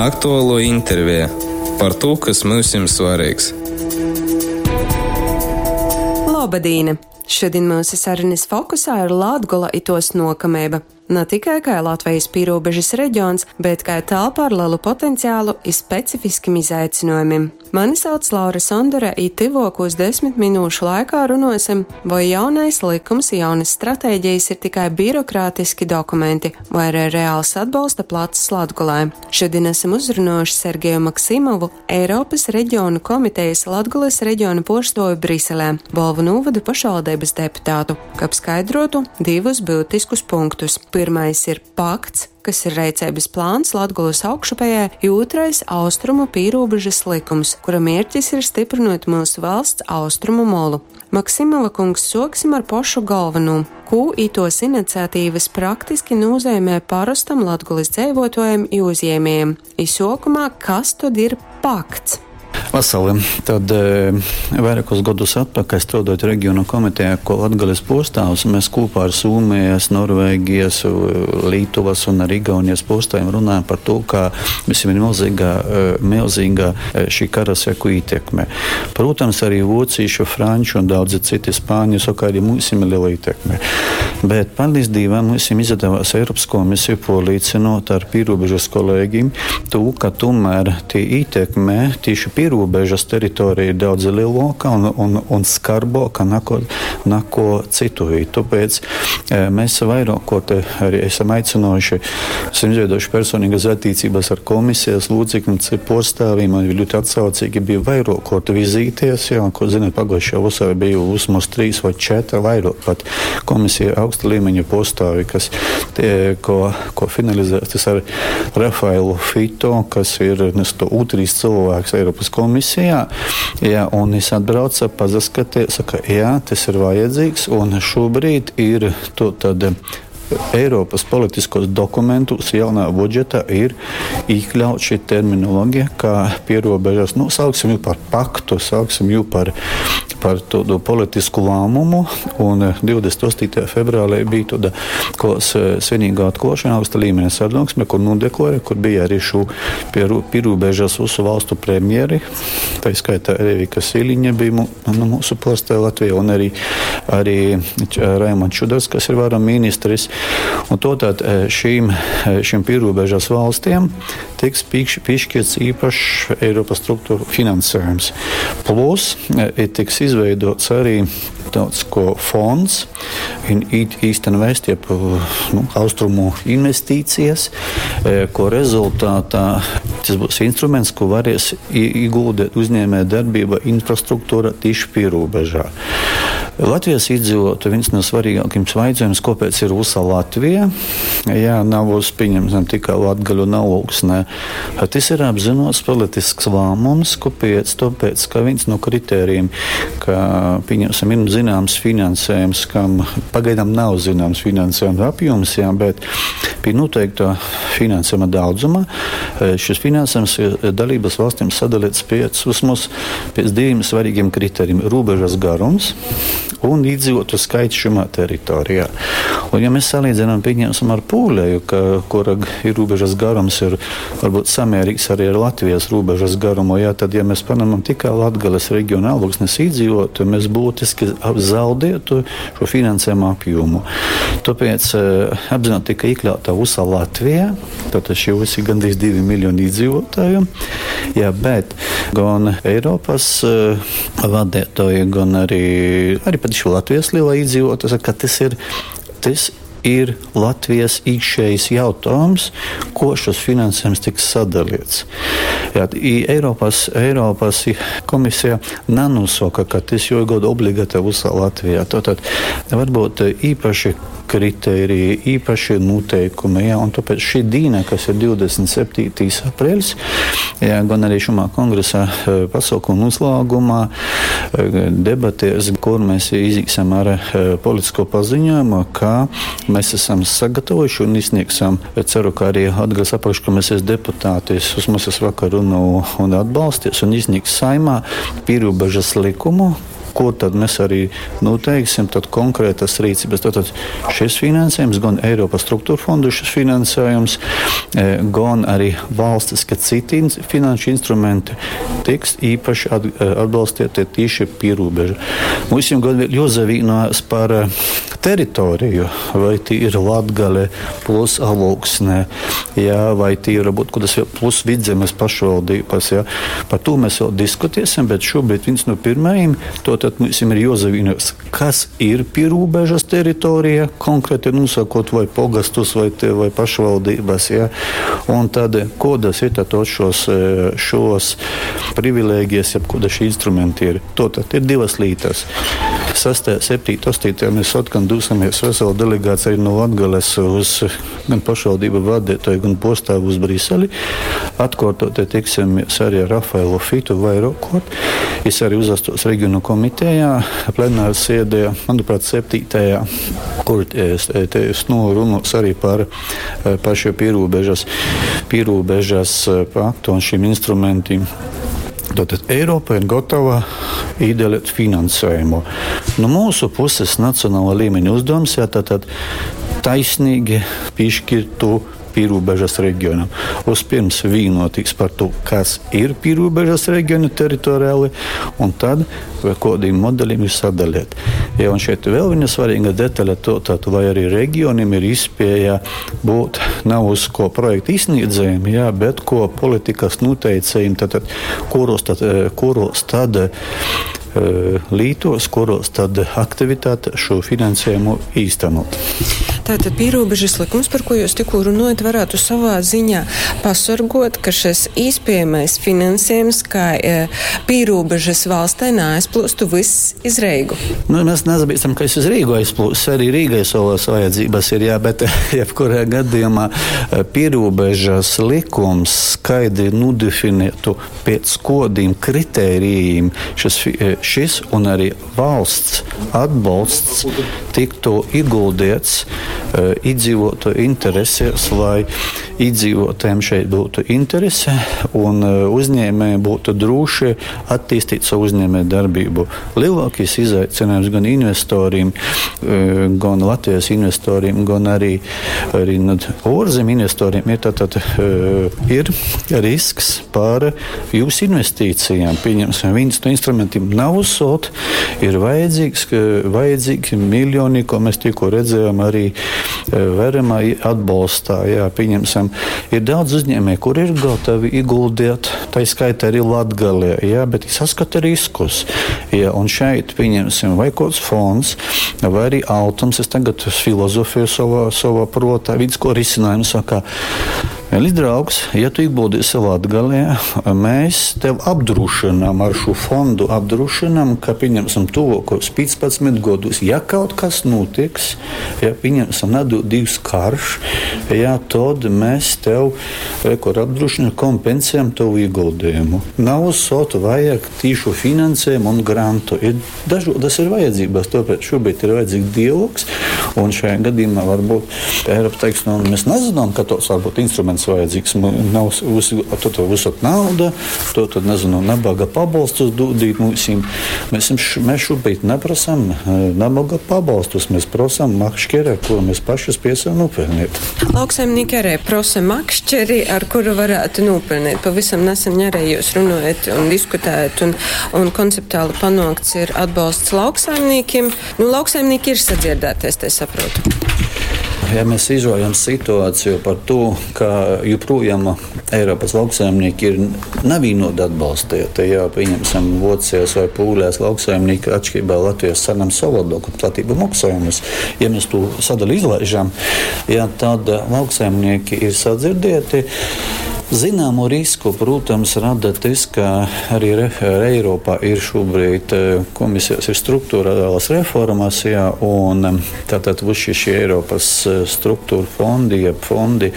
Aktualuo interveja par tū, kas myusim svareigs. Lobadīna! Šodien mūsu sarunas fokusā ir Latgola i tos nokameiba. Na tikai kai Latvijas pīrūbežas reģions, bet kai telpa ar lelu potenciālu i specifiskim izaicinojumim. Mani sauc Laura Sondore, i tyvuokūs 10 minūšu laikā runuosim, voi jaunais likums i jaunys stratēģijas ir tikai birokrātiski dokumenti, vai arī reāls atbolsta placs Latgolai. Šodien esam uzrunuojuši Sergeju Maksimovu, Eiropas reģionu komitejas Latgolas reģiona puorstuovi Briselē, Bolvu nūvoda pašvaldības deputātu, kab skaidrotu divus būtiskus punktus. Pirmais ir pakts, kas ir reiceibas plāns Latgolas augšupējai, i ūtrais – austrumu pīrūbežas likums, kura mierķis ir stiprinot myusu valsts austrumu molu. Maksimova kungs, suoksim ar pošu galvenū. Kū ituos iniciatīvys praktiski nūzeimē parostam Latgolys dzeivuotuojam i uzjiemiejam? I suokumā, kas tod ir pakts? Vasali. Tad vairākus gadus atpakaļ strādājot regionu komitejā, ko Latgales postāvs, mēs kopā ar Somijas, Norvēģijas, Lietuvas un arī Igaunijas postāvjiem runājam par to, ka visiem ir milzīga, milzīga šī kara seku ietekme. Protams, arī vocīšu, franču un daudzi citi spāņu saka, arī mums ir liela ietekme. Bet, paldies Dievam, mums izdevās Eiropas komisiju pārliecinot ar pierobežas kolēģiem to, ka tomēr tie ietekme tieši pierobežas teritorija ir daudz lielāka un skarbāka nako citu vietu. Tāpēc mēs vairāk ko te arī esam aicinājuši, esam izveidojuši personīgas attiecības ar komisijas locekļiem, pārstāvjiem, un viņi ļoti atsaucīgi bija vairāk ko te vizīties, jā, ko zināt, pagājušajā vasarā bija vismaz 3 vai 4 vairāk pat komisija augsta līmeņa postāvi, kas tie, ko finalizētas ar Rafaelu Fito, kas ir nesto otrais cilvēks Eiropas komisijā, jā, un es atbraucu, pazaskaties, saka, jā, tas ir vajadzīgs, un šobrīd ir to tad Eiropas politiskos dokumentus jaunā budžetā ir iekļaut šī terminoloģija, kā pierobežas, nu, sauksim jū par paktu, sauksim jū par tādu politisku lēmumu, un 28. februārī bija tāda svinīga atklāšana augsta līmeņa sanāksme, kur nodeklarē, kur bija arī šo pierobežas visu valstu premjeri, tā skaitā Evika Siliņa bija nu, mūsu pārstāve Latvijā, un arī Raimonds Čudars, kas ir varam ministris. Un to tad šīm pierobežas valstiem tiks piešķirts īpašs Eiropas struktūru finansējums. Plus tiks izveidots arī tāds ko fonds, Eastern West, jeb, nu, austrumu investīcijas, ko rezultātā tas būs instruments, ko varēs ieguldīt uzņēmē darbība infrastruktūra tieši pierobežā. Latvijas iedzīvotāji viens no svarīgākajiem jautājumiem, kāpēc ir visa Latvija, ja nav uz, pieņemsim, tikai Latgaļu un Alūksnē. Tas ir apzināts politisks lēmums, kāpēc? Tāpēc, ka viens no kritērijiem, ka, pieņemsim, ir zināms finansējums, kam pagaidām nav zināms finansējuma apjoms, jā, bet pie noteikta finansējuma daudzuma šis finansējums ir dalības valstīm sadalīts pēc, vismaz pēc diviem svarīgiem kritērijiem – robežas garums un iedzīvotu skaits šajā teritorijā. Un, ja mēs salīdzinām, pieņemsim ar Pūleju, kura ir robežas garums ir varbūt samērīgs arī ar Latvijas robežas garumu, jā, tad, ja mēs paņemam tikai Latgales reģionu Alūksnes iedzīvotu, mēs būtiski zaudētu šo finansējumu apjomu. Tāpēc apzināti tika iekļauta visa Latvija, tātad šie visi gandrīz 2 miljoni iedzīvotāju, jā, bet gan Eiropas vadītāji, gan arī pat šo Latvijas lielā iedzīvotāja, ka tas ir Latvijas iekšējs jautājums, ko šis finansējums tiks sadalīts. Jā, i Eiropas komisija nenosaka, ka tas jāiegūda obligāti visā Latvijā. Tātad varbūt īpaši kritēriji, īpaši noteikumi, jā, un tāpēc šī diena, kas ir 27. aprīlis, jā, gan arī šumā kongresa pasaukuma noslēgumā, debatēs, kur mēs izīsim ar politisko paziņojumu, ka mēs esam sagatavojuši un izsniegsim, ceru, ka arī Latgales apakškomisijas deputāti, vismaz es vakar runāju un atbalsties un izsniegs Saeimā pierobežas likumu, kur tad mēs arī noteiksim tad konkrētas rīcības. Tātad šis finansējums, gan Eiropas struktūra fondu šis finansējums, gan arī valstiski citi finanšu instrumenti tiks īpaši atbalstīti tieši pierobeža. Mums jau gan vēl jozavīnās par teritoriju, vai tī ir Latgale plus Alūksne, jā, vai tī ir varbūt kaut kas vēl plus Vidzemes pašvaldības, jā. Par to mēs vēl diskutēsim, bet šobrīd viens no pirmajiem, to tad mums ir jozavīnās, kas ir pierobežas teritorija, konkrēti nosakot vai pogastus vai, vai pašvaldības, jā. Un tad, kodas ir tad šos privilēģijas, jeb koda šie instrumenti ir. To tad ir divas lītas. 6., 7., 8. mēs atkal dosimies veselu delegāciju no Latgales uz gan pašvaldību vadītāju, gan postāvu uz Briseli. Atkārtot tiksimies arī ar Rafaelu Fitu vairākot. Es arī uzastos regionu komitejā, plenāru sēdē, manuprāt, 7., kur es, te es nu, runos arī par šo pierobežas paktu un šiem instrumentiem. Tātad Eiropa ir gatava iedalīt finansējumu. No mūsu puses nacionāla līmeņa uzdevums ir tātad taisnīgi piešķirt to pierobežas reģionam. Vispirms vienoties par to, kas ir pierobežas reģiona teritoriāli, un tad vai kādiem modeļiem ir sadalīt. Ja, un šeit vēl viena svarīga detaļa, to, tad, vai arī reģioniem ir iespēja būt nav uz ko projektu izsniedzējiem, jā, bet ko politikas noteicējiem, tad, kuros tad lītos, kuros tad aktivitāte šo finansējumu īstenot. Tātad pierobežas likums, par ko jūs tikko runājat, varētu savā ziņā pasargot, ka šis īspējamais finansējums, kā pierobežas valstē neaizplūstu viss iz Reigu. Nu, mēs nezabīstam, ka es uz Rīgu aizplūst, arī Rīgai savas vajadzības ir, jā, bet jebkurā gadījumā pierobežas likums skaidri nodefinētu pēc kodiem kritērijiem šis un arī valsts atbalsts tiktu ieguldīts iedzīvotāju interesēs, lai iedzīvotājiem šeit būtu interese un uzņēmēji būtu droši attīstīt savu uzņēmēju darbību. Lielākais izaicinājums gan investoriem, gan Latvijas investoriem, gan arī ārzemju investoriem ir, tātad, ir risks par jūsu investīcijām. Pieņemsim, viens no instrumentiem nav uzsot, ir vajadzīgi miljoni, ko mēs tikko redzējām arī Veremā atbalstā. Jā, pieņemsim, ir daudz uzņēmēju, kur ir gatavi ieguldīt, tai skaitā arī Latgalē, jā, bet saskata riskus. Jā, un šeit, pieņemsim, vai kāds fonds, vai arī Altums, es tagad filozofēju savā protā, viens ko risinājumu saka, Mīļš draugs, ja tu ieguldīsi Latgalē, mēs tev apdrošinām ar šo fondu, apdrošinām, ka, pieņemsim, tuvākos 15 gados, ja kaut kas notiks, ja, pieņemsim, nedod Dievs karš, ja, tad mēs tev, kur apdrošinām, kompensējam tavu ieguldījumu. Nav uzsot, vajag tīšu finansējumu un grantu. Ir dažādas ir vajadzības, tāpēc šobrīd ir vajadzīgs dialogs, un šajā gadījumā varbūt Eiropa teiks, nu, mēs nezinām, ka tos varbūt instruments vajadzīgs. Nav to tev uzsot nauda, to tad, nezinu, nabaga pabalstus dodīt mums. Mēs šobrīd neprasam nabaga pabalstus, mēs prasam makšķeri, ar kuru mēs paši spēsim nopelnīt. Lauksaimnieki arī prasa makšķeri, ar kuru varētu nopelnīt. Pavisam nesen arī jūs runājat un diskutējat, un konceptuāli panākts ir atbalsts lauksaimniekiem. Nu, lauksaimnieki ir sadzirdēties, te saprotu. Ja mēs izrojam situāciju par to, ka joprojām Eiropas lauksaimnieki ir nevienoti atbalstīti, ja pieņemsim Vācijas vai Pūlijas lauksaimnieki atšķirībā Latvijas saņem savādāku platību maksājumus, ja mēs to sadaļu izlaižam, ja, tad lauksaimnieki ir sadzirdēti. Zināmu risku, protams, rada tas, ka arī Eiropā ir šobrīd komisijas ir struktūrālās reformas, jā, un tātad visi šie Eiropas struktūra fondi, jeb fondi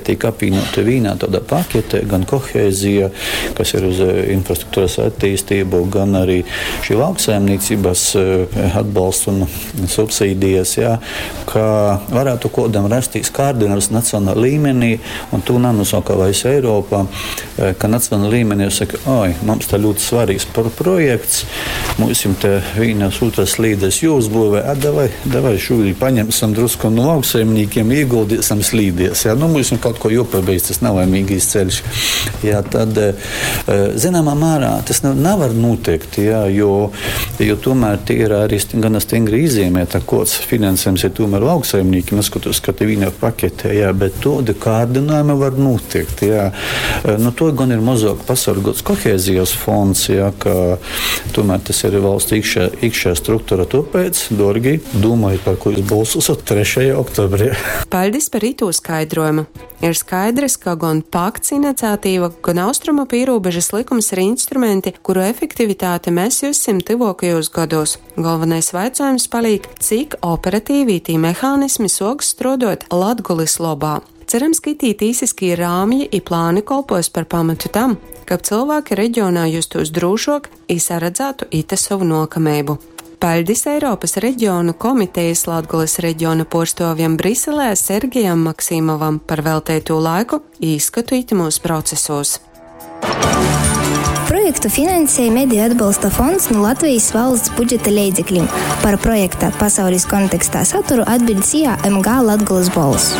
tiek apvienoti vienā tādā paketē, gan kohēzija, kas ir uz infrastruktūras attīstību, gan arī šī lauksaimniecības atbalsts un subsīdijas, jā, ka varētu kodam rasties kārdinājums nacionālā līmenī, un tu nenosaka, vai es Eiropā, ka nacionālā līmenī saka, oi, mums tā ļoti svarīgs projekts, mums te vienas otras slīdes jāuzbūvē, a davai, davai šūļi paņemsim drusku no lauksaimniekiem, ieguldīsim slīdies, jā, nu mums kaut ko jāpabeidz, tas nav laimīgais ceļš. Jā, tad, zināmā mērā tas nevar notikt, jā, jo, jo tomēr tie ir arī gana stingri izzīmēta, kods finansējums ir tomēr lauksaimniekiem, neskatoties, ka te viena pakete, jā, bet tādi kārdinājumi var notikt, jā. Nu, to gan ir mazāk pasargots kohēzijas fonds, jā, ka tomēr tas ir valsts iekšē, iekšē struktūra. Tāpēc, dorgi, domājiet, par ko jūs balsosiet 3. oktobrī. Paldies par itū skaidrojumu. Ir skaidrs, ka gan pakts iniciatīva, gan austrumu pierobežas likums ir instrumenti, kuru efektivitāti mēs jussim tuvākajos gados. Galvenais jautājums paliek, cik operatīvi tī mehānismi soks strodot Latgulis lobā. Cerams, ka itī tīsiskie rāmji i plāni kolpos par pamatu tam, kab cilvēki reģionā justos drūšok i saredzētu ite savu nokameibu. Paļdis Eiropas reģionu komitejas Latgules reģiona porstovjam Briselē Sergejam Maksimovam par veltēto laiku īskatu itimūs procesos. Projektu finansēja Mediju atbalsta fonds no Latvijas valsts budžeta leidzekļiem. Par projekta pasaules kontekstā saturu atbild SIA MG Latgulas bolss.